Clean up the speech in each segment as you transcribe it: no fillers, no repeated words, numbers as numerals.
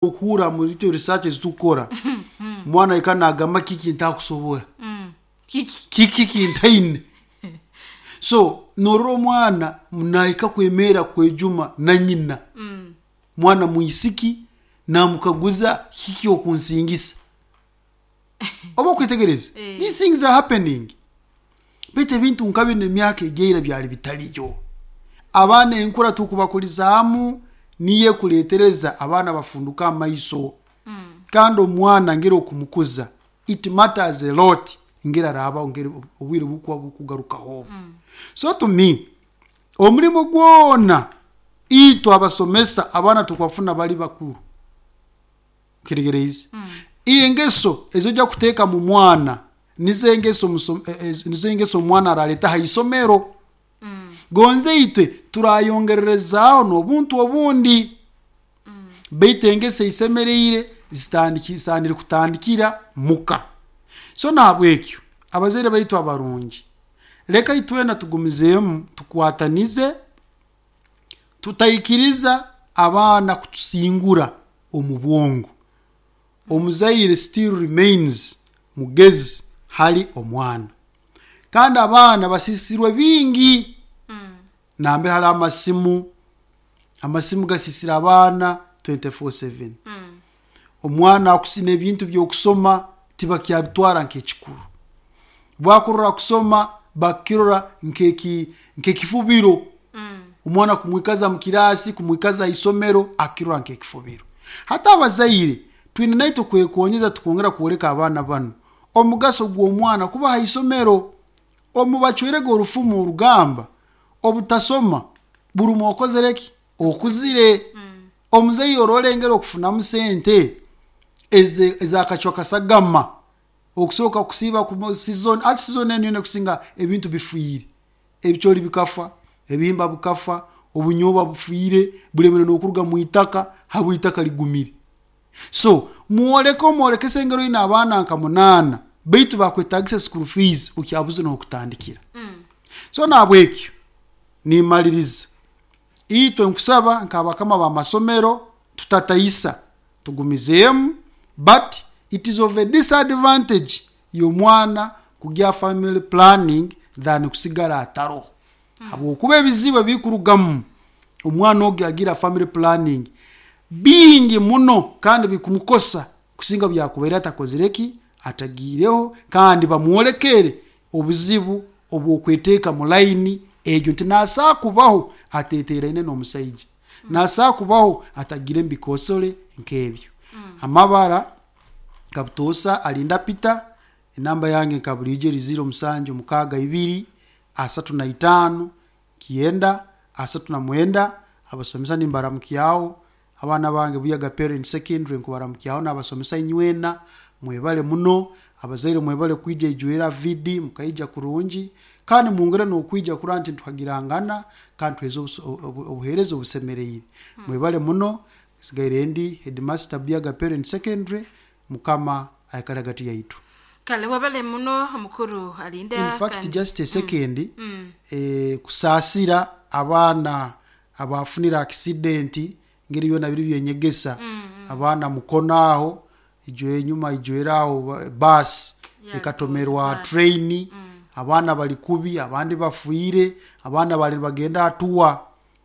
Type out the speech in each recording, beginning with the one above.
Okuhurra muri itwe research ezitukukora, omwana aikara nagamba kiki ntakusobora, Kiki? Kiki kintaine. So norora omwana nahika kwemerra kwejuma na nyina, mwana mwisiki namukaguza kiki okunsingisa. Oba okwetegereza? Eh. These things are happening. Baitu ebintu nka binu emyaka egyaira byali bitaliyo. Abaana enkura tukubakulizaamu niyo ekuleetereza abaana bafunduka amaiso. Kandi omwana ngeri okumukuza it matters a lot ngeri araabaho ngeri obwire bukuba bukugarukaho obu. So to me, omulimo gwona itwe abasomesa abaana tukubafuna bali bakuru. Kitegereize? Engeso ezi ojya kuteeka mu mwana nizo engeso omuso- nizo engeso omwana araleeta ha isomero. Gonze itwe turayongererezaaho n'obuntu obundi. Baitu engeso eisemereire zisaanire kutandikira muka. So nahabwekyo abazaire baitu abarungi, leka itwena tugumizeemu tukwatanize, tutaikiriza abaana kutusingura omu bwongo. Omuzaire still remains mugezi hali omwana. Kandi abaana basiisirwe bingi, nambere hali amasimu, amasimu gasiisire abaana 24/7. Omwana akusina ebintu by'okusoma tibakyabitwara nk'ekikuru. Bwakurora kusoma bakirora nk'ekifubiro. Omwana kumwikaza mu kiraasi, kumwikaza ha isomero akirora nk'ekifubiro. Hati abazaire twine naitwe kwekonyeza tukongera kwoleka abaana banu omugaso gw'omwana kuba ha isomero. Omu bacwerege orufumu orugamba obutasoma buruma okozere ki? Okuzire. Omuzaire orora engeri okufunamu sente ez'akacwa kasagama okusoboka kusiiba ku season, hati season enu yoona ekusinga ebintu bifiire. Ebicooli bikafa, ebihimba bikafa, obunyobwa bufiire, bulemere n'okuruga mu itaka habw'itaka ligumire. So mwoleke omwolekese engeri oine abaana nka munaana baitu bakwetagisa school fees okyabuze n'hokutandikira. So nahabwekyo nimaliriza, itwe nkusaba nk'abakama b'amasomero tutataisa tugumizeemu but it is of a disadvantage y'omwana kugya family planning than kusigara ataroho. Habwokuba ebizibu ebikurugamu omwana ogu agira family planning bingi muno kandi bikumukosa kusinga obu yakubaire atakozire ki? Atagiireho kandi bamwolekere obuzibu obw'okweteeka mu layini egyo nti nasobola kubaho ateeteraine n'omusaija, nasobola kubaho atagiire mu bikoosore nk'ebyo. Amabara nka butoosa alinda Peter, enamba yange nka buriijo eri ziro musanju mukaaga ibiri, asatu na itaano, kyenda, asatu na mwenda, abasomesa nimbaramukyaho, abaana bange Buyaga Parent Secondary nkubaramukyaho n'abasomesa inywena, mwebale muno, abazaire mwebale kwija ijwera VD mukaija kurungi, kandi mwongere n'okwija kurora nti nituhagirangana kandi tuheereza obuheereza obusemeriire. Mwebale muno, nsigaire ndi Headmaster Buyaga Parent Secondary, Mukama aikale hagati yaitu. Kale webale muno mukuru Alinda. In fact kandi just a second, kusaasira abaana abafunire accident ngeri byona biri byenyegesa, abaana Mukono aho, ijo enyuma ijwere aho bus ekatomerwa train, abaana bari kubi, abandi bafiire, abaana bari nibagenda aha tour,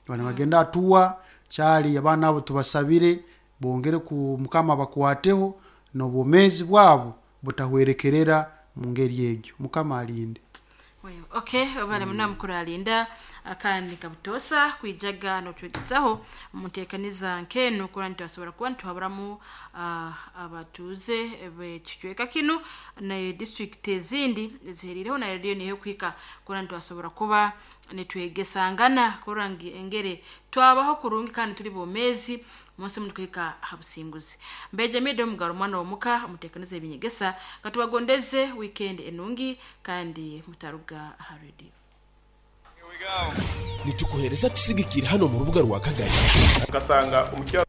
bari nibagenda aha tour, kyari abaana abo tubasabire bongere ku Mukama abakwateho n'obwomeezi bwabo butahwerekerera mu ngeri egyo. Mukama alinde. Okay, webale muno mukuru Alinda kandi nkabutoosa kwijaga notwegezaho omu nteekaniza nk'enu kurora nitubasobora kuba nituhaburamu abatuuze b'ekicweka kinu na district ezindi eziheriireho na rediyo niyo ekuhika kurora nitubasobora kuba nitwegesangana kurora ngu engeri twabaho kurungi kandi tuli bomeezi munsi munu kuhika ha businguzi. Mbeja Mido Mugaro omwana w'omuka omuteekaniza ebinyegesa katubagondeze weekend enungi kandi mutaruga ha rediyo. Nitukuhereza tusigikire hano mu rubuga rwa Kagari. Nkasanga omukyala.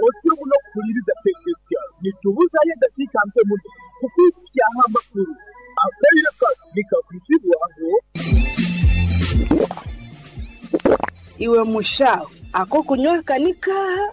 Otyo muno kuhuliriza Tekinisiano. Nitubuzayo edakiika nke muno kukwidhukyaho amakulu. Akaire kano nikakwizibwaho. Iwe mushaho, ak'okunywa aka ni kaaha?